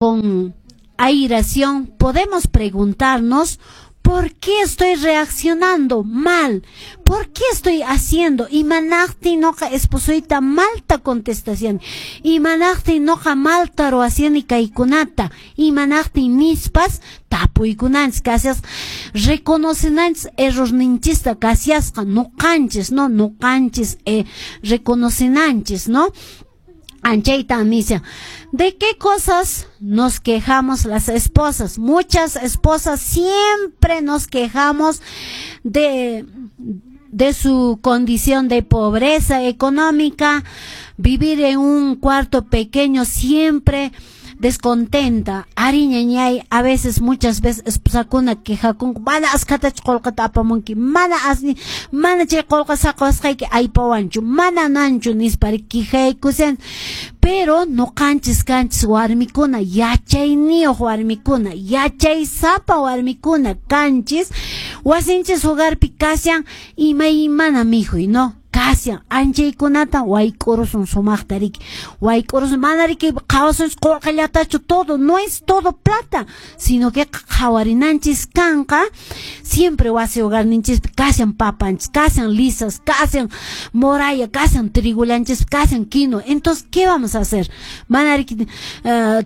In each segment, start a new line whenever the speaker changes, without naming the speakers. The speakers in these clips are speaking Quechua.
Con airación, podemos preguntarnos: ¿por qué estoy reaccionando mal? ¿Por qué estoy haciendo? Imanaqtin noqa esposoyta malta contestación. Imanaqtin noqa malta ruwashani kaykunata. Imanaqtin nispas tapuykunanchis kashas, reconocenanchis errorninchista kashasqa noqanchis, ¿no? Noqanchis reconocenanchis, ¿no? Anchayta misa. ¿De qué cosas nos quejamos las esposas? Muchas esposas siempre nos quejamos de su condición de pobreza económica, vivir en un cuarto pequeño siempre descontenta. Arí, ñañay, a veces, muchas veces, esposakuna quejakunku, mana askhatachu qullqita apamunki, mana asni, mana chay qullqa saqasqayki aypawanchu, mana nanchu nispa quejaykusan. Pero noqanchis kanchis warmikuna, yachayniyuq warmikuna, yachaysapa warmikuna kanchis, wasinchis hogarpi kashan imaymana mikhuy, ¿no? Kashan anchaykunata wayk'urusun sumaqta riki, wayk'urusun, mana riki qhawasunchis qullqillatachu, todo no es todo plata, sino que qhawarinanchis kanqa siempre wasi hogarninchispi kashan papanchis, kashan lisas, kashan moraya, kashan trigullanchis, kashan quinoa. Entonces, ¿qué vamos a hacer? Mana riki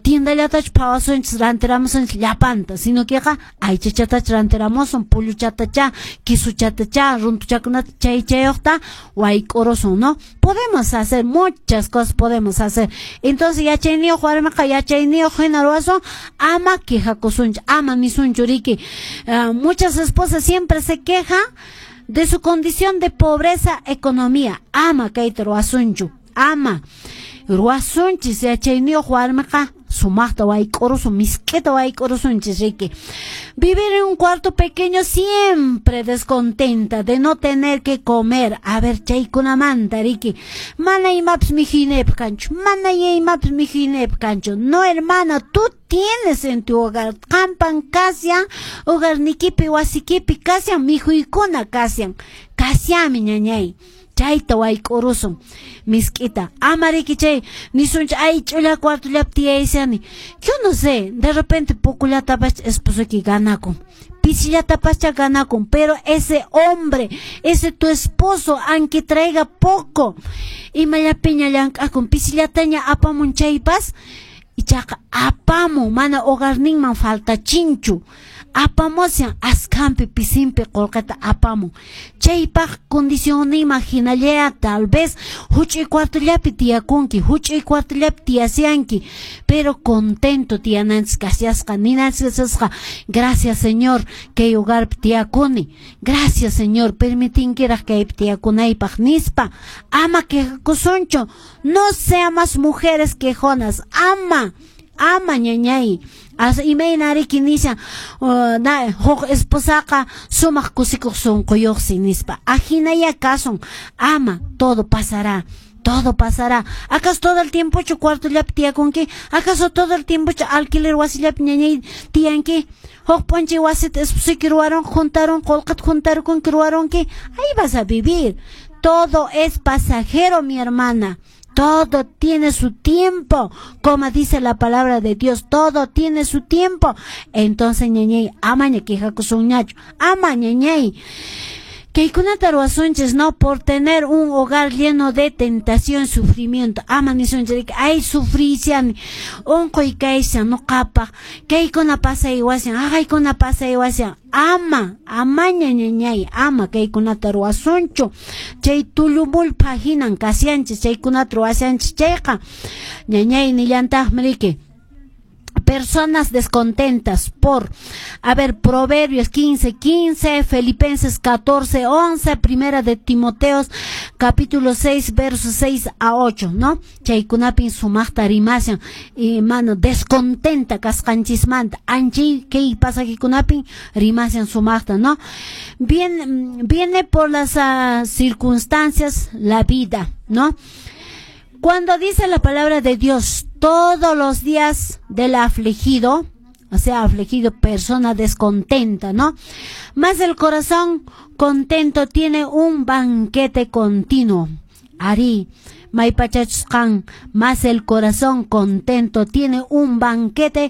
tiendallatachu phawasunchis rantiramusunchis llapanta, sino que aychachatachu rantiramusun, pulluchatacha, quisuchatacha, runtuchakunata chay chayuqta wayk'urusun, ¿no? Podemos hacer muchas cosas, podemos hacer. Entonces, yachayniyuq warmiqa yachayniyuq hina ruwasun, ama quejakusunchu, ama nisunchu riki. Muchas esposas siempre se quejan de su condición de pobreza economía. Ama kayta ruwasunchu, ama. Ruwasunchis yachayniyuq warmiqa sumaqta wayk'urusun, misk'ita wayk'urusunchis riki. Vivir en un cuarto pequeño siempre descontenta de no tener que comer. A ver, chaykunamanta riki. Mana imapis mikhuyniypaq kanchu, mana imapis mikhuyniypaq kanchu. No, hermana, tú tienes en tu hogar, qampan kashan, hogarnikipi, wasikipi kashan, mikhuykuna kashan. Kashanmi, ñañay. Chayta wayk'urusun misk'ita. Ama riki chay nisunchis, ay, ch'ulla cuartollapi tiyayshani. Yo no sé, de repente pocollatapas esposoyki ganakun, pisillatapaschá ganakun, pero ese hombre, ese tu esposo, aunque traiga poco, imallapiña llank'akun, pisillataña apamun chaypas, ichaqa apamun, mana hogarninman faltachinchu. Apamushan askhampi pisinpi qullqita apamun. Chaypaq condicionninman hinallaya tal vez huch'uy cuartollapi tiyakunki, huch'uy cuartollapi tiyashanki, pero contento tiyananchis kashasqa, ninanchis kashasqa, gracias, Señor, kay hogarpi tiyakuni, gracias, Señor, permitinkiraq kaypi tiyakunaypaq nispa. Ama quejakusunchu, no seamos mujeres quejonas, ama, ama, ñañay. As imayna riki nishan, na huk esposaqa sumaq kusikuq sunquyuqsi nispa. Ahinaya kasun, ama, todo pasará. Todo pasará. ¿Acaso todo el tiempo chu cuartollapi tiyakunki? ¿Acaso todo el tiempo chu alquiler wasillapi, ñañay, tiyanki? Huk p'unchay wasita esposuyki ruwaron, juntaron, qullqita juntarukunki, ruwaronki. Ahí vas a vivir. Todo es pasajero, mi hermana. Todo tiene su tiempo, como dice la palabra de Dios, todo tiene su tiempo. Entonces, ñañay, amaña quejakusunñachu, ama, ñañay. Kaykunata ruwasunchis, ¿no? Por tener un hogar lleno de tentación, sufrimiento. Ama nisunchis, ay, sufrishani, unquy kayshan, nuqapaq, kaykuna pasaywashan, haqaykuna pasaywashan. Ama, amaña, ñañay, ama kaykunata ruwasunchu. Chay tullumullpa hinan kashanchis, chaykunata ruwashanchis chayqa. Ñañay, nillantaqmi riki. Personas descontentas por, a ver, Proverbios 15, 15, Filipenses 14, 11, Primera de Timoteos, capítulo 6, versos 6 a 8, ¿no? Chaykunapin sumaqta rimashan, y mano, descontenta kasqanchismanta, anchay kay pasajekunapin rimashan sumaqta, ¿no? Viene por las circunstancias la vida, ¿no? Cuando dice la palabra de Dios, todos los días del afligido, o sea, afligido, persona descontenta, ¿no? Más el corazón contento tiene un banquete continuo. Arí, Maypachachus qan, más el corazón contento tiene un banquete.